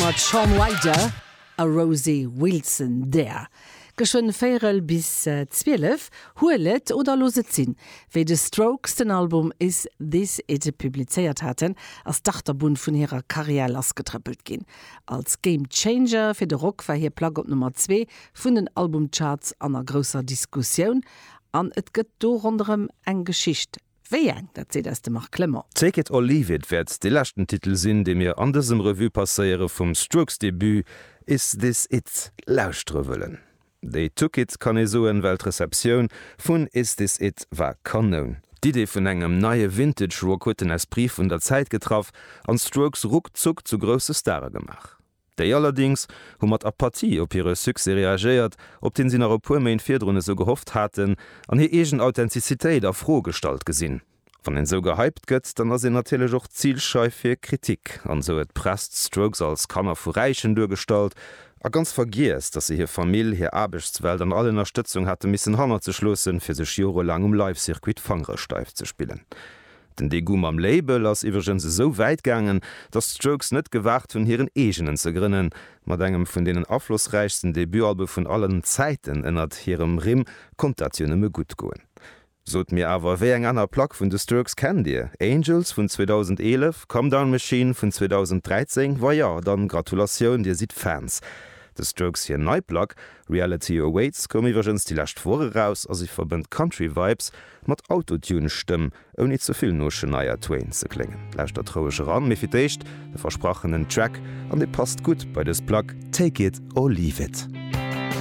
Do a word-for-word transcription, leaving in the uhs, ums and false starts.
Mat Shaun Ryder a Rosie Wilson there. Geschwënn véierel bis zwielef, Huel et oder looss et sinn. Wéi The Strokes den Album Is This It publizéiert haten, ass d'Achterbunn vun hirer Karriär lassgetrëppelt ginn. Als Game Changer fir de Rock war hir Plack op Nummer zwee vun den Albumcharts an a grousser Diskussioun. An et gëtt do ronderëm eng Geschicht. Wéi eng, dat seet eis de Marc Clement. Take It or Leave It wäert dee leschten Titel sinn, dee mir an dësem Revue passéiere vum Strokes-Debut Is This It lauschtere wëllen. They took it, kann ee soen, well d'Receptioun vun Is This It war Kanoun. D'Idee vun engem neie Vintage Rock huet den Esprit vun der Zäit getraff an d'Strokes ruckzuck zu grousse Stare gemaach. Déi allerdéngs hu mat Apathie op hire Succès reagéiert, op deen si nach e puer Méint virdrun esou gehofft haten, an hir eegen Authentizitéit a Fro gestallt gesinn. Wann een esou gehypt gëtt, dann ass een natierlech och Zilscheif fir Kritik, an esou huet d'Press d'Strokes als Kanner vu Räichen duergestallt a ganz vergiess, datt se hir Famill, hir Aarbechtswelt an all Ënnerstëtzung hate missen hannert sech loossen, fir sech jorelaang um Live-Circuit d'Fangere steif ze spillen. Den Degoût mam Label ass iwwregens esou wäit gaangen, datt d'Strokes net gewaagt hunn, hiren eegenen ze grënnen. Mat engem vun deenen aflossräichsten Debutalbe vun allen Zäiten ënnert hirem Rimm konnt dat jo nëmme gutt goen. Sot mir awer, wéi eng aner Plack vun de Strokes kennt Dir? Angels vun zweedausendeenef? Comedown Machine vun zweedausendräizéng? Wa jo, dann Gratulatioun, Dir sidd Fans. De Strokes hir nei Plack Reality Awaits koum iwwregens déi lescht Woch eraus a si verbënnt Country Vibes mat Autotune-Stëmm, ouni ze vill no Shania Twain ze kléngen. Lauschtert roueg eran, mee fir d'éischt de versprachenen Track, an dee passt gutt bei dës Plack, Take It or Leave It.